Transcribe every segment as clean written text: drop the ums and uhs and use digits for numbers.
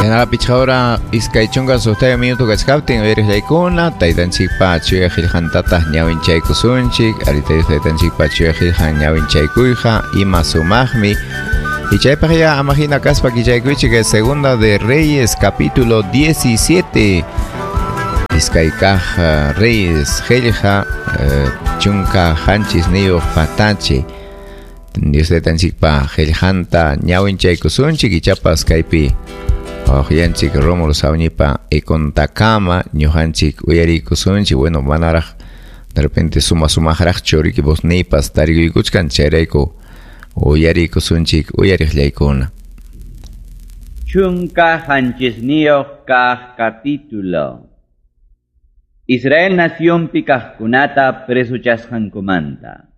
Chaynaqa pichqa hora 26 minuto kachkaptin uyariqllaykuna taytanchikpa chuya qillqantataq ñawinchaykusunchik. Arita Dios taytanchikpa chuya qillqan ñawinchaykuyqa ima sumaqmi. Y chaypaq ya amahina kaspa kichaykuychik Segunda de Reyes capítulo 17. Iskay kaq Reyes qillqa 17 patachi. Dios taytanchikpa qillqanta ñawinchaykusunchik ichapas kaypi wawqiyanchik Rómulo Sawñipa ikuntakama ñuqanchik uyariykusunchik. Bueno, manaraq de repente suma sumaqraqchu riki vozniypas tarikuykuchkan chayrayku uyariykusunchik uyariqllaykuna. 17 kaq capítulo. Israel nacionpi kaqkunata presuchasqankumanta.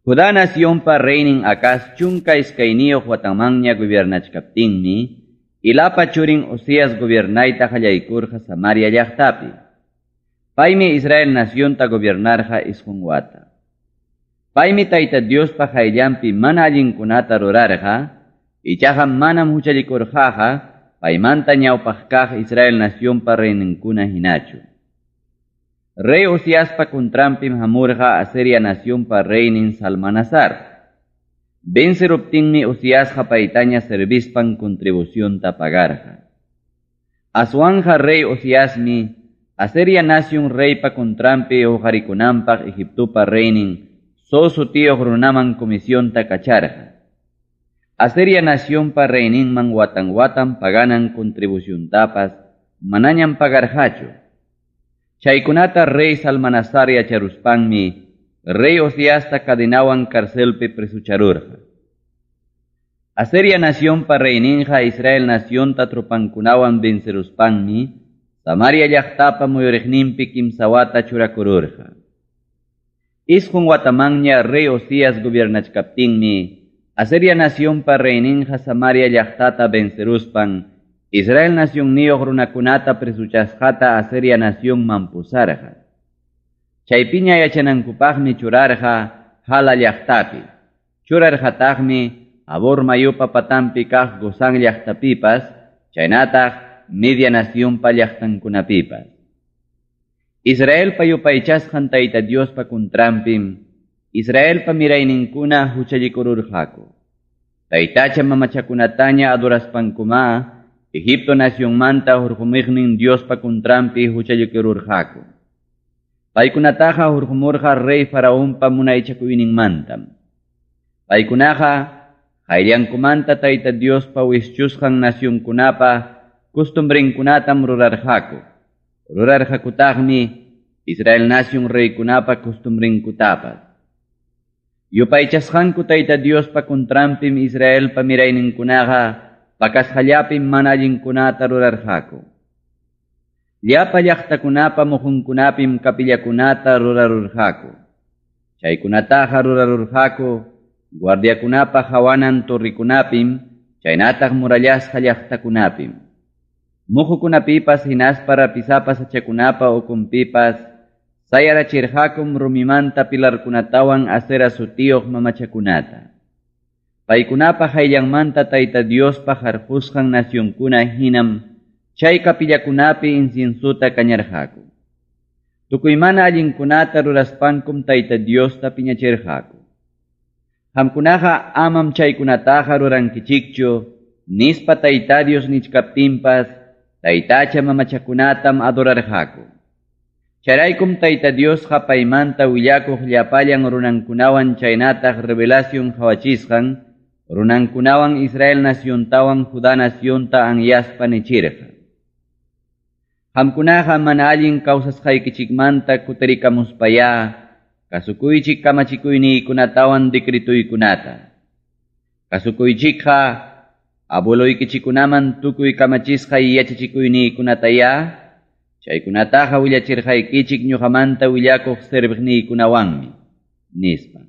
Judá nacionpa reynin Acaz 12 watamanña gobiernachkaptinmi, Ilapa churin Osías gobiernayta qallaykurqa Samaria llaqtapi. Paymi Israel nacionta gobiernarqa 9 wata. Paymi Tayta Diospa qayllanpi mana allinkunata rurarqa, ichaqa manam huchallikurqaqa paymanta ñawpaq kaq Israel nacionpa reyninkuna hinachu. Rey Osiaspa contranpim hamurqa Asiria nacionpa reynin Salmanasar. Venceruptinmi Osiasqa paytaña servispan contribucionta pagarqa. Aswanja rey Osiasmi Asiria nacion reypa contranpi uqarikunanpaq Egiptopa reynin So sutiyuq runaman comisionta kacharqa. Asiria nacionpa reyninman watan watan paganan contribuciontapas manañam pagarqachu. Chaykunata rey Salmanasar yacharuspanmi rey Osiasta cadenawan carcelpi presucharurqa. Asiria nacionpa reyninqa Israel nacionta tropankunawan venceruspanmi Samaria llaqtapa muyuriqninpi kimsa wata churakururqa. 9 watamanña rey Osías gobiernachkaptinmi Asiria nacionpa reyninqa Samaria llaqtata venceruspan Israel nacionniyuq runakunata presuchasqata Asiria nacionman pusarqa. Chaypiña yachanankupaqmi churarqa Hala llaqtapi. Churarqataqmi Abor mayupa patanpi kaq Gozán llaqtapipas, chaynataq Media nacionpa llaqtankunapipas. Israelpa yupaychasqan Tayta Diospa contranpim, Israelpa mirayninkuna huchallikururqaku. Taytacha mamachakunataña adoraspankuma, Egipto nacionmanta hurqumiqnin Diospa contranpi huchallikururqaku. Paykunataqa hurqumurqa rey Faraonpa munaychakuyninmantam. Paykunaqa qayllankumanta Tayta Diospa wischusqan nacionkunapa costumbrenkunatam rurarqaku. Rurarqakutaqmi Israel nacion reykunapa costumbrenkutapas. Yupaychasqanku Tayta Diospa contranpim Israelpa mirayninkunaqa pakasqallapim mana allinkunata rurarqaku. Llapa llaqtakunapa muhunkunapim kapillakunata rurarurqaku. Chaykunataqa rurarurqaku guardiakunapa hawanan torrikunapim, chaynataq murallasqa llaqtakunapim. Muhukunapipas hinaspa rapisapa sachakunapa ukunpipas sayarachirqakum rumimanta pilarkunatawan Asera sutiyuq mamachakunata. Paykunapa hayllanmanta Tayta Diospa harqusqan nacionkuna hinam chay kapillakunapi inciensuta kañarqaku. Tukuy mana allinkunata ruraspankum Tayta Diosta piñachirqaku. Qamkunaqa amam chaykunataqa rurankichikchu, nispa Tayta Dios nichkaptinpas, taytacha mamachakunatam adorarqaku. Chayraykum Tayta Diosqa paymanta willakuq llapallan runankunawan chaynataq revelación qhawachisqan, runankunawan Israel naciontawan Judá nacionta anyaspa nichirqa. Qamkunaqa mana allin kawsasqaykichikmanta kutirikamuspayá, kasukuychik kamachikuyniykunatawan decretuykunata. Kasukuychikqa abueloykichikunaman tukuy kamachisqay yachachikuyniykunatayá, chaykunataqa willachirqaykichik ñuqamanta willakuq serviqniykunawanmi, nispa.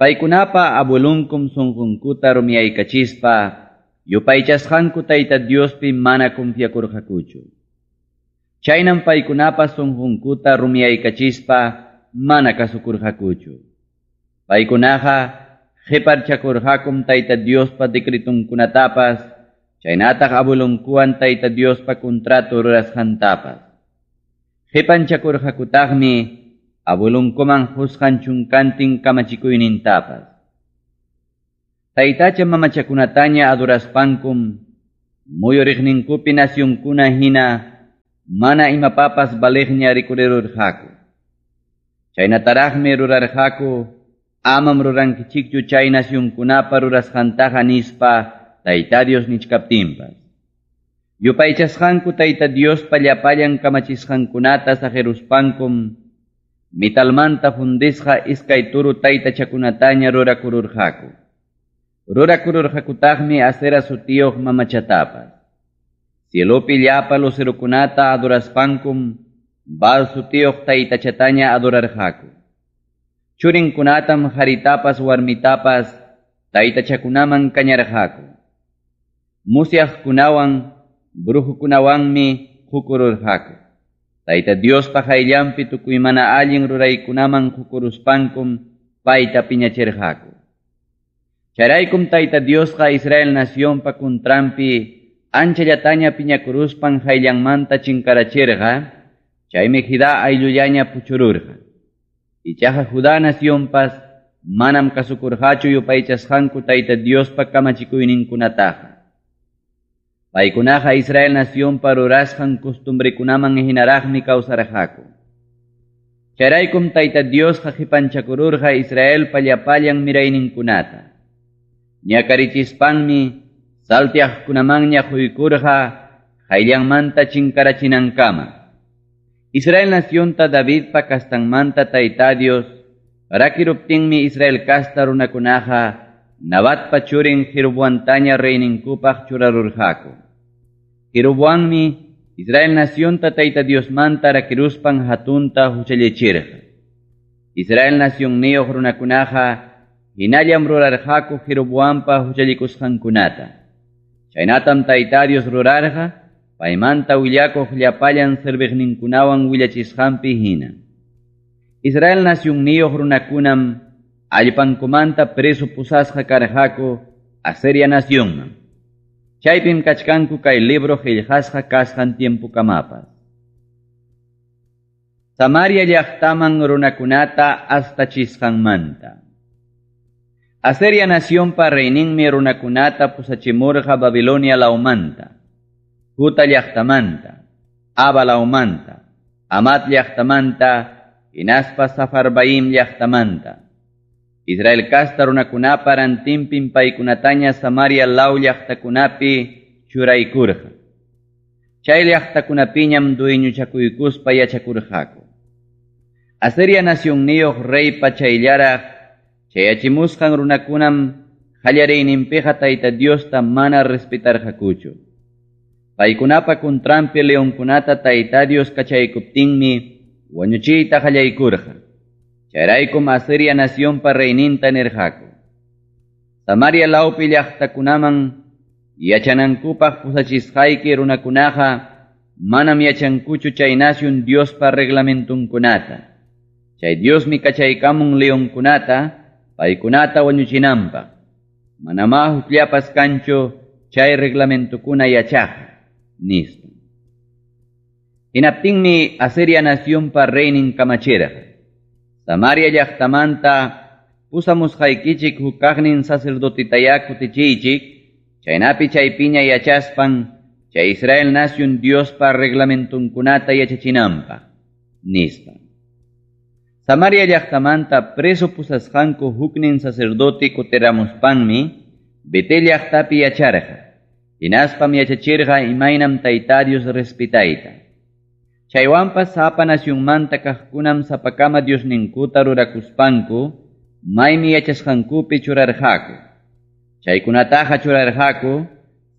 Paykunapa abuelunkum sunqunkuta rumiyaykachispa, yupaychasqanku Tayta Diospi mana confiakurqakuchu. Chaynam paykunapa sunqunkuta rumiyaykachispa mana kasukurqakuchu. Paykunaqa qhiparchakurqakum Tayta Diospa decretunkunatapas, chaynataq abuelonkuwan Tayta Diospa contrato rurasqantapas. Qipanchakurqakutaqmi abuelonkuman qusqan chunkantin kamachikuynintapas. Taytacha mamachakunataña adoraspankum muyuriqninkupi nacionkuna hina mana imapapas baliqña rikurirurqaku. Chaynataraqmi rurarqaku amam rurankichikchu chay nacionkunapa rurasqantaqa nispa Tayta Dios nichkaptinpas. Yupaychasqanku Tayta Diospa llapallan kamachisqankunata saqiruspankum mitalmanta fundisqa iskay turu taytachakunataña rurakururqaku. Rurakururqakutaqmi Asera sutiyuq mamachatapas. Cielopi llapa lucerokunata adoraspankum Baal sutiyuq taytachataña adorarqaku. Churinkunatam haritapas warmitapas taytachakunaman kañarqaku. Musyaqkunawan brujukunawanmi qukururqaku. Tayta Diospa hayllanpi tukuy mana allin ruraykunaman qukuruspankum payta piñachirqaku. Chayraykum Tayta Diosqa Israel nacionpa kuntranpi anchallataña piñakuruspan hayllanmanta chinkarachirqa, chaymi Judá ayllullaña puchururqa. Ichaqa Judá nacionpas manam kasukurqachu yupaychasqanku Tayta Diospa kamachikuyninkunataqa. Paykunaqa Israel nacionpa rurasqan costumbrekunaman hinaraqmi kawsarqaku. Chayraykum Tayta Diosqa qipanchakururqa Israelpa llapallan mirayninkunata. Ñakarichispanmi saltiaqkunamanña quykurqa hayllanmanta chinkarachinankama. Israel nacionta Davidpa kastanmanta Tayta Dios rakiruptinmi Israel kasta runakunaqa Nabatpa churin Jeroboamtaña reyninkupaq churarurqaku. Jeroboammi Israel nacionta Tayta Diosmanta rakiruspan hatunta huchallichirqa. Israel nacionniyuq runakunaqa hinallam rurarqaku Jeroboampa huchallikusqankunata. Chaynatam Tayta Dios rurarqa paymanta willakuq llapallan serviqninkunawan willachisqanpi hina. Israel nacionniyuq runakunam allpankumanta preso pusasqa karqaku Asiria nacionman. Chaypim kachkanku kay libro qillqasqa kasqan tiempokamapas. Samaria llaqtaman runakunata astachisqanmanta. Asiria nacionpa reyninmi runakunata pusachimurqa Babilonia lawmanta, Juta llaqtamanta, Aba lawmanta, Amat llaqtamanta, hinaspa Safarbaim llaqtamanta. Israel kasta runakunapa rantinpim paykunataña Samaria law llaqtakunapi churaykurqa. Chay llaqtakunapiñam dueñochakuykuspa yachakurqaku. Asiria nacionniyuq reypa chayllaraq chayachimusqan runakunam qallariyninpiqa Tayta Diosta mana respetarqakuchu. Paykunapa kuntranpi leonkunata Tayta Dios kachaykuptinmi wañuchiyta qallaykurqa. Chayraykum Asiria nacionpa reyninta nirqaku. Samaria lawpi llaqtakunaman yachanankupaq pusachisqayki runakunaqa manam yachankuchu chay nacion Diospa reglamentunkunata. Chay Diosmi kachaykamun leonkunata paykunata wañuchinanpaq. Manamá hukllapas kanchu chay reglamentukuna yachaqqa, nispa. Hinaptinmi Asiria nacionpa reynin kamachirqa. Samaria llaqtamanta pusamusqaykichik hukaqnin sacerdotitayá kutichiychik, chaynapi chaypiña yachaspan chay Israel nacion Diospa reglamentunkunata yachachinanpaq, nispa. Samaria llaqtamanta preso pusasqanku huknin sacerdote kutiramuspanmi Betel llaqtapi yacharqa, hinaspam yachachirqa imaynam Tayta Dios respetayta. Chaywanpas sapa nacionmanta kaqkunam sapakama Diosninkuta rurakuspanku maymi yachasqankupi churarqaku. Chaykunataqa churarqaku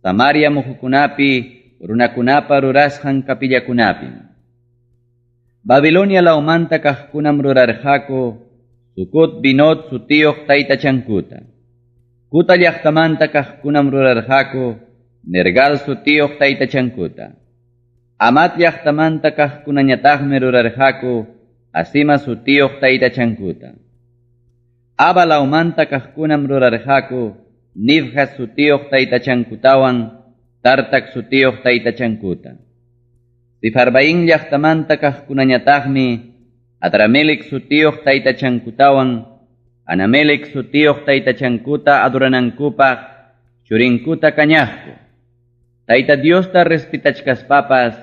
Samaria muhukunapi runakunapa rurasqan kapillakunapim. Babilonia lawmanta kaqkunam rurarqaku Sukut Binot sutiyuq taytachankuta. Kuta llaqtamanta kaqkunam rurarqaku Nergal sutiyuq taytachankuta. Amat llaqtamanta kaqkunañataqmi rurarqaku Asima sutiyuq taytachankuta. Aba lawmanta kaqkunam rurarqaku Nibjas sutiyuq taytachankutawan Tartak sutiyuq taytachankuta. Sefarvaim llaqtamanta kaqkunañataqmi Adramelec sutiyuq taytachankutawan Anamelec sutiyuq taytachankuta adoranankupaq churinkuta kañaqku. Tayta Diosta respetachkaspapas